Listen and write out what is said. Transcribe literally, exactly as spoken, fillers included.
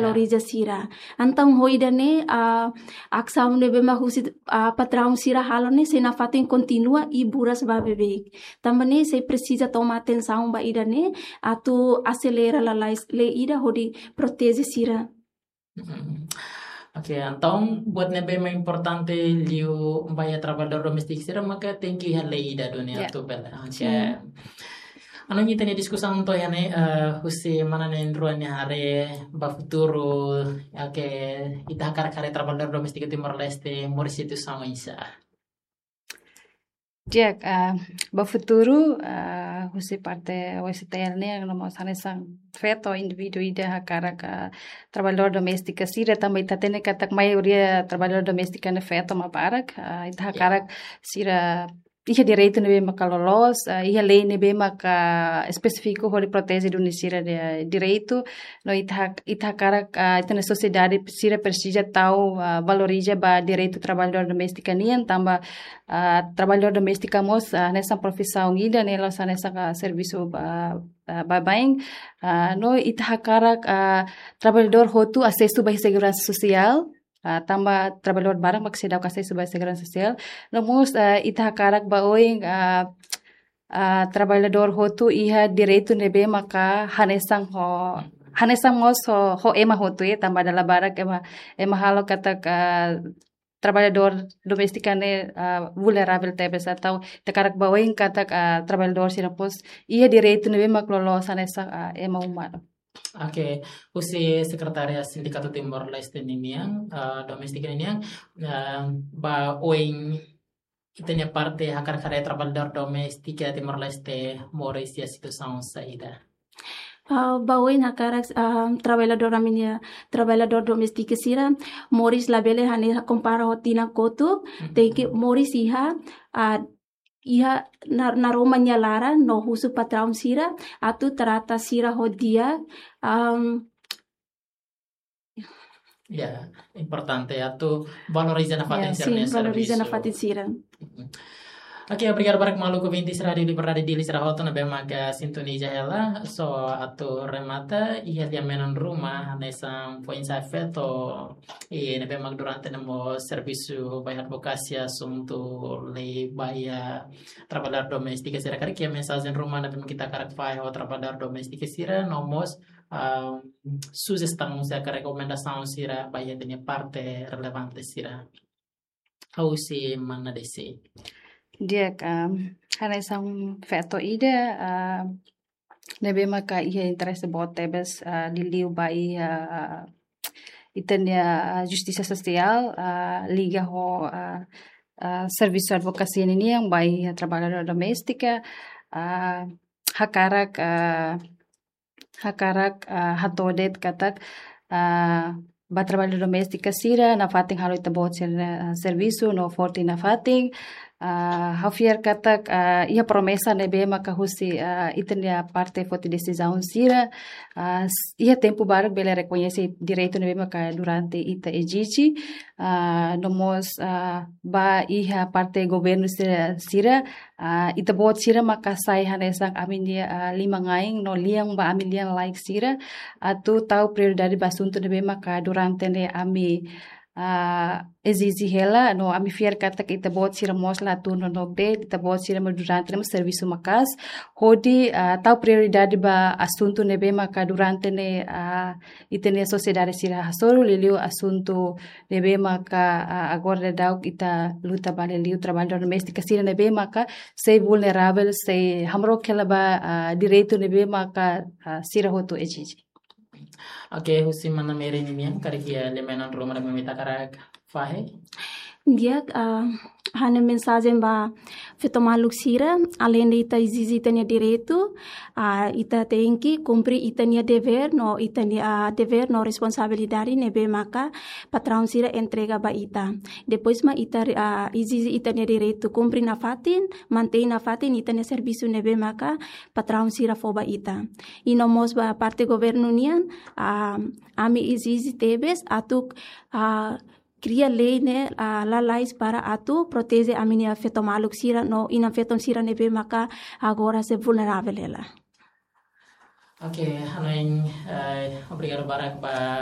valoriza sira. Entaun ho ida-ne'e, ah, asaun ne'ebé mak husi, ah, patraun sira halo ne'e sei nafatin kontinua i buras ba beibeik. Tanba ne'e sei presiza toma atensaun ba ida-ne'e atu aselera lalais lei ida hodi proteje sira. Mm. Oke, entaun buat ne'ebé mak importante liu ba iha traballadór doméstiku sira maka tenke iha lei ida duni atu bele. Oke. Hanoin ita-nia diskusaun to'o iha ne'e, eh, husi mana na'in-rua nia haree ba futuru, oke, ita hakarak haree traballadór doméstiku Timor-Leste moris situasaun oinsá? Di'ak, ah, ba futuru, ah, husi parte O S T L nian, no mós hanesan feto indivíduu ida hakarak, ah, traballadór doméstiku sira, tanba ita hatene katak maioria traballadór doméstiku ne'e feto mak barak, ah, ita hakarak sira iha direitu ne'ebé maka loloos, ah, iha lei ne'ebé maka espesífiku hodi proteje duni sira-nia direitu, no ita hak-, ita hakarak, ah, ita-nia sosiedade sira presiza tau, ah, valoriza ba direitu traballadór doméstiku nian, tanba, ah, traballadór doméstiku mós, ah, hanesan profisaun ida ne'e la'ós hanesan, ah, servisu ba, ah, baibain, ah, no ita hakarak, ah, traballadór hotu asesu ba seguransa sosiál, ah, tanba traballadór barak mak seidauk asesu ba seguransa sosiál. No mós, ah, ita hakarak ba oin, ah, ah, traballadór hotu iha direitu ne'ebé maka hanesan ho, hanesan mós ho, ho ema hotu, eh, tanba dala barak ema, ema halo katak, ah, traballadór doméstiku ne'e, ah, vulneravel tebes, entaun ita hakarak ba oin katak, ah, traballadór sira mós iha direitu ne'ebé mak loloos hanesan, ah, ema umanu. Oke, husi Sekretária Sindikatu Timor-Leste ninian, eh, doméstiku ninian, eh, ba oin ita-nia parte hakarak haree traballadór doméstiku Timor-Leste moris iha situasaun saida? Ah, ba oin hakarak, ah, traballadór ami-nia traballadór doméstiku sira moris labele hanesan kompara ho tinan kotuk, tenke moris iha, ah, iha nar-, naroman nia laran no husu patraun sira atu trata sira ho di'ak, am, Ya, importante atu valoriza nafatin sira-nia servisu. Valoriza nafatin sira. Oke, obrigadu barak maluk ouvinte sira Rádiu Liberdade Dili sira hotu ne'ebé maka sintoniza hela. So atu remata, iha lia-menon ruma hanesan foin-sa'e feto, i ne'ebé mak durante ne'e mós servisu ba iha advokasia asuntu lei ba iha traballadór doméstiku sira, karik iha mensajen ruma ne'ebé mak ita hakarak fahe ho traballadór doméstiku sira, no mós, ah, sujestaun sira ka rekomendasaun sira ba iha ita-nia parte relevante sira. Husi mana Desi? Di'ak, ah, hanesan feto ida, ah, ne'ebé maka iha interese boot tebes, ah, liuliu ba iha, ah, ita-nia, ah, justisa sosiál, ah, liga ho, ah, ah, servisu advokasia ninian ba iha traballadór doméstiku, ah, hakarak, ah, hakarak, ah, hato'o de'it katak, ah, ba traballadór doméstiku sira nafatin halo ita-boot sira, ah, servisu no forte nafatin, ah, ha'u fiar katak, ah, iha promesa ne'ebé maka husi, ah, ita-nia parte foti desizaun sira, ah, s-, iha tempu balu bele rekoñese direitu ne'ebé maka durante ita ezije, ah, no mós, ah, ba iha parte governu sira, sira, ah, ita-boot sira maka sai hanesan ami-nia, ah, liman-ain no lian ba ami lian-laek sira, atu tau prioridade ba asuntu ne'ebé maka durante ne'e ami, ah, ezije hela, no ami fiar katak ita-boot sira mós la tun nonook de'it, ita-boot sira mós durante ne'e mós servisu maka'as, hodi, ah, tau prioridade ba asuntu ne'ebé maka durante ne'e, ah, ita-nia sosiedade sira hasoru, liuliu asuntu ne'ebé maka, ah, agora daudaun ita luta ba liuliu traballadór doméstiku sira ne'ebé maka sei vulneravel, sei hamrook hela ba, ah, direitu ne'ebé maka, ah, sira hotu ezije. Oke, husi mana Mary ninian, karik iha lia-menon ruma ne'ebé mak ita hakarak fahe? Di'ak, ah, ha'u-nia mensajen ba feto maluk sira, aleinde ita ezije ita-nia direitu, ah, ita tenke kumpre ita-nia devér no ita-nia, ah, devér no responsabilidade ne'ebé maka patraun sira entrega ba ita. Depois mak ita, ah, ezije ita-nia direitu, kumpre nafatin, mantein nafatin ita-nia servisu ne'ebé maka patraun sira fó ba ita. I no mós ba parte governu nian, ah, ami ezije tebes atu, ah, kria lei ne'e, ah, lalais para atu proteje ami-nia feto maluk sira no inan-feton sira ne'ebé maka agora sei vulneravel hela. Oke, hanoin, eh, obrigadu barak ba